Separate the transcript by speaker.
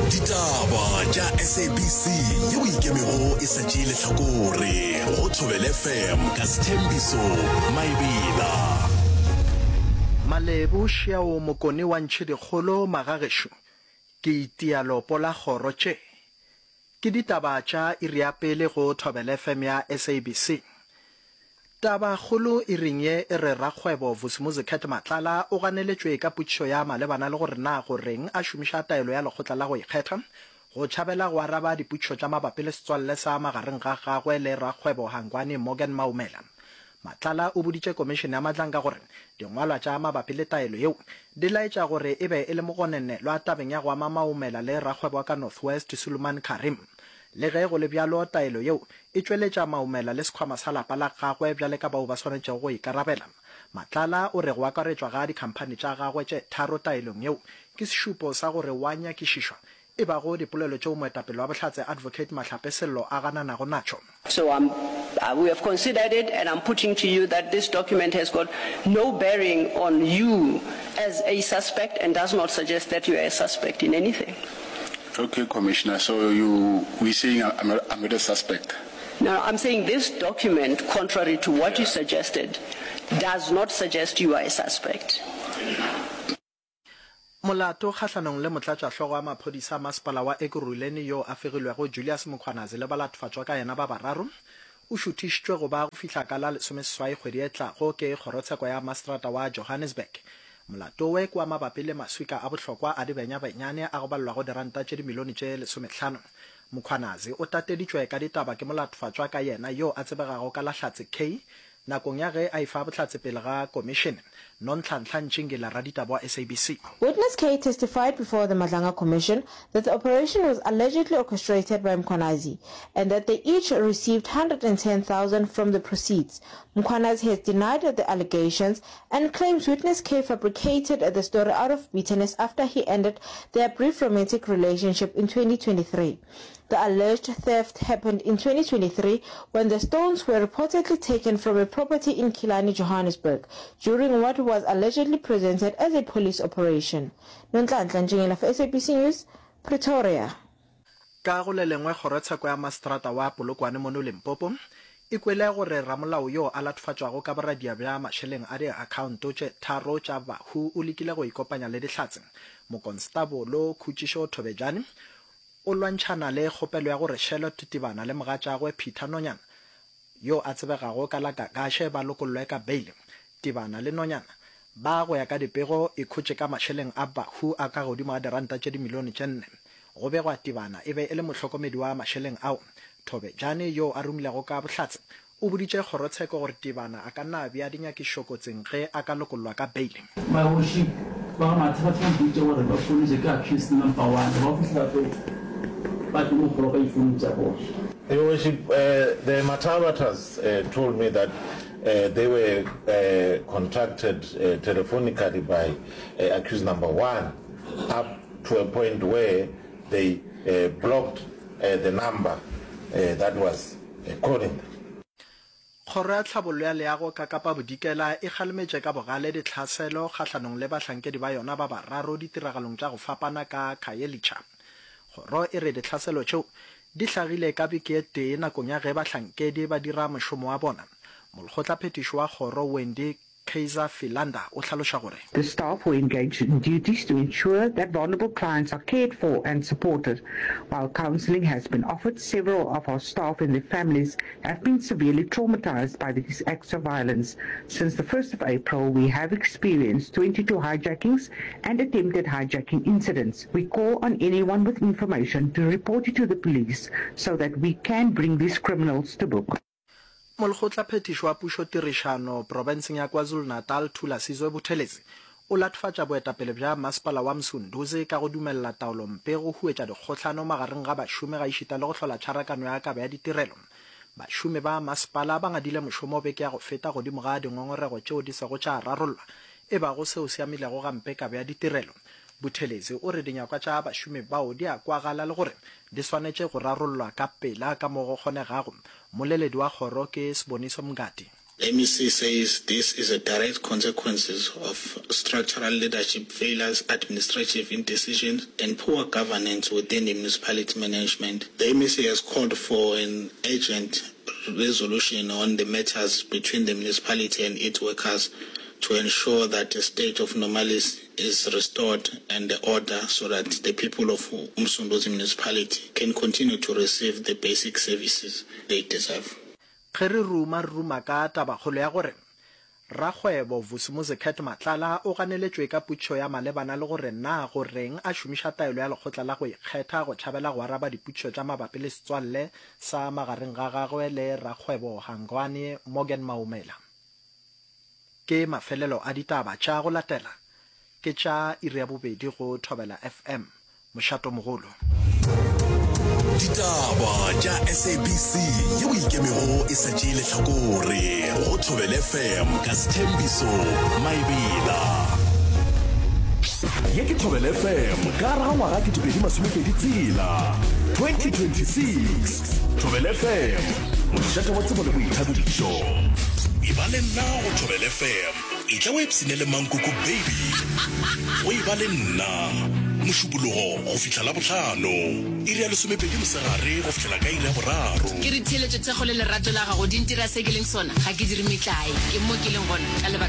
Speaker 1: Ditaba tša SABC yeo e ikemego e sa tšee lehlakore go Thobela FM ka Sthembiso Maebela.
Speaker 2: Malebo Šiao Mokone wa Ntšhidikgolo Magagešo ke itia lopo la kgoro tše Ke ditaba tša iri ya pele go Thobela FM ya SABC. Taba kgolo iring ye e re rakgwebo Vusimuzi Cat Matlala o ganeletšwe ka potšišo ya malebana le gore na go reng a šomiša taelo ya lekgotla la go ikgetha go tšhabela go araba dipotšišo tša mabapi le setswalle sa magareng ga gagwe le rakgwebo Hangwani Morgan Maumela. Matlala o boditše komišene ya Madlanga gore dingwalwa tša mabapi le taelo yeo di laetša gore e be e le mogononelwa tabeng ya go ama Maumela le rakgwebo wa ka North West Suleiman Carrim. Le ge go le bjalo, taelo yeo e tšweletša Maumela le sekhwama sa lapa la gagwe bjale ka bao ba swanetšego go ikarabela. Matlala o re go akaretšwa ga dikhamphani tša gagwe tše tharo taelong yeo ke sešupo sa gore wa nyakišišwa e bago dipolelo tšeo moetapele wa Bohlatse Advocate Mahlape Sello a gananago natšo.
Speaker 3: So I'm, we have considered it and I'm putting to you that this document has got no bearing on you as a suspect and does not suggest that you are a suspect in anything.
Speaker 4: Okay, Commissioner, so you, we saying I'm not, I'm not a suspect?
Speaker 3: No, I'm saying this document, contrary to what you suggested, does not suggest you are a suspect.
Speaker 2: Molato kgahlanong le motlatšahlogo wa maphodisa a masepala wa Ekurhuleni yo a fegilwego Julius Mkhwanazi le balatfatšwa ka yena ba bararo o šuthišitšwe go ba go fihla ka la lesomeseswai kgwedi e tlago ke kgorotsheko ya maseterata wa Johannesburg. Molato we ke wa mabapi le maswika a bohlokwa a dibenyabenyane a go balelwago diranta tše dimilione tše lesomehlano. Mkhwanazi o tateditšwe ka ditaba ke molatfatšwa ka yena yo a tsebegago ka la Hlatse K Nakong ya ge a efa bohlatse pele ga komišene, Nonhlanhla Ntšingila, raditaba wa SABC.
Speaker 5: Witness K testified before the Madlanga Commission that the operation was allegedly orchestrated by Mkhwanazi and that they each received 110,000 from the proceeds. Mkhwanazi has denied the allegations and claims Witness K fabricated the story out of bitterness after he ended their brief romantic relationship in 2023. The alleged theft happened in 2023 when the stones were reportedly taken from a property in Killarney, Johannesburg, during what was allegedly presented as a police operation. Nonhlanhla Ntšingela for SABC News, Pretoria.
Speaker 2: Ka go le lengwe, kgorotsheko ya maseterata wa Polokwane mono Limpopo e kwele gore ramolao yo a latofatšwago ka boradia bja mašeleng a diakhaonto tše tharo tša bahu o lekile go ikopanya le Dihlatse. Mokonstabolo Khutšišo Thobejane O lwantšhana le kgopelo ya gore Charlotte Tibana le mogatšagwe Peter Nonyana, yo a tsebegago ka la Gagashe ba lokollwe ka beile. Tibana le Nonyana ba, go ya ka dipego, ikhotše ka mašeleng a bahu a ka godimo ga diranta tše dimilione tše nne. Go begwa Tibana e be e le mohlokomedi wa mašeleng ao. Thobejane, yo a rumilego ka bohlatse, O boditše kgorotsheko gore Tebana a ka nna a bea dinyakišišo kotsing ge a ka lokollwa ka beile.
Speaker 6: My worship, ba ga Mathe ba tlo mpitša gore ba founetše ke accused number one, ba fihla ba tlo ba tlo mo kgolo ka difounu tša bona.
Speaker 7: Your worship, the Mathabathas told me that they were contacted telephonically by accused number one up to a point where they blocked the number that was Calling.
Speaker 2: Kgoro ya Tlhabollo ya Leago ka Kapa Bodikela e kgalemetše ka bogale ditlhaselo kgahlanong le bahlankedi ba yona ba bararo ditiragalong tša go fapana ka Khayelitsha. Kgoro e re ditlhaselo tšeo di hlagile ka beke e tee nakong ya ge bahlankedi ba dira mošomo wa bona. Molekgotlaphethiši wa kgoro Wendy Kaizer Philander o hlaloša gore.
Speaker 8: The staff were engaged in duties to ensure that vulnerable clients are cared for and supported. While counselling has been offered, several of our staff and their families have been severely traumatised by these acts of violence. Since the 1st of April, we have experienced 22 hijackings and attempted hijacking incidents. We call on anyone with information to report it to the police so that we can bring these criminals to book.
Speaker 2: Molekgotlaphethiši wa pušotirišano profenseng ya KwaZulu-Natal Thulasizwe Buthelezi o latofatša boetapele bja masepala wa Msunduzi ka go dumelela taolompe go huetša dikgohlano magareng ga bašomi gaešita le go hlola tšharakano ya kabo ya ditirelo. Bašomi ba masepala ba ngadile mošomo beke ya go feta godimo ga dingongorego tšeo di sego tša rarollwa e bago seo se amilego gampe kabo ya ditirelo. Buthelezi o re dinyakwa tša bašomi bao di a kwagala le gore di swanetše go rarollwa ka pela ka mo go kgonegago. Mmoleledi wa kgoro ke Siboniso Mngadi.
Speaker 9: MEC says this is a direct consequences of structural leadership failures, administrative indecisions and poor governance within the municipality management. The MEC has called for an urgent resolution on the matters between the municipality and its workers to ensure that a state of normalcy is restored and the order so that the people of Umsunduzi municipality can continue to receive the basic services they deserve.
Speaker 2: Ge re ruma re ruma ka tabakgolo ya gore rakgwebo Vusimuzi Cat Matlala o ganeletšwe ka potšišo ya malebana le gore na go reng a šomiša taelo ya lekgotla la go ikgetha go tšhabela go araba dipotšišo tša mabapi le setswalle sa magareng ga gagwe le rakgwebo Hangwani Morgan Maumela. Ke mafelelo a ditaba tša go latela ke tša iri ya bobedi go Thobela FM, mošatomogolo.
Speaker 1: Ditaba tša SABC yeo e ikemego e sa tšee lehlakore go Thobela FM ka Sthembiso Maebela. Ye ke Thobela FM ka gare ga ngwaga 2026, 2026. Thobela FM, mošate wa tsebo le boithabišo. Eba le nna go Thobela FM. Etla o ipshine le Mankoko Baby. Go eba le nna, Mošupologo go fihla Labohlano, iri ya lesomepedi mosegare go fihlela ka iri ya boraro.
Speaker 10: Ke re theeletšo, thekgo le lerato la gago di ntira se ke leng sona. Ga ke dire metlae. Ke mo ke leng gona ka lebaka.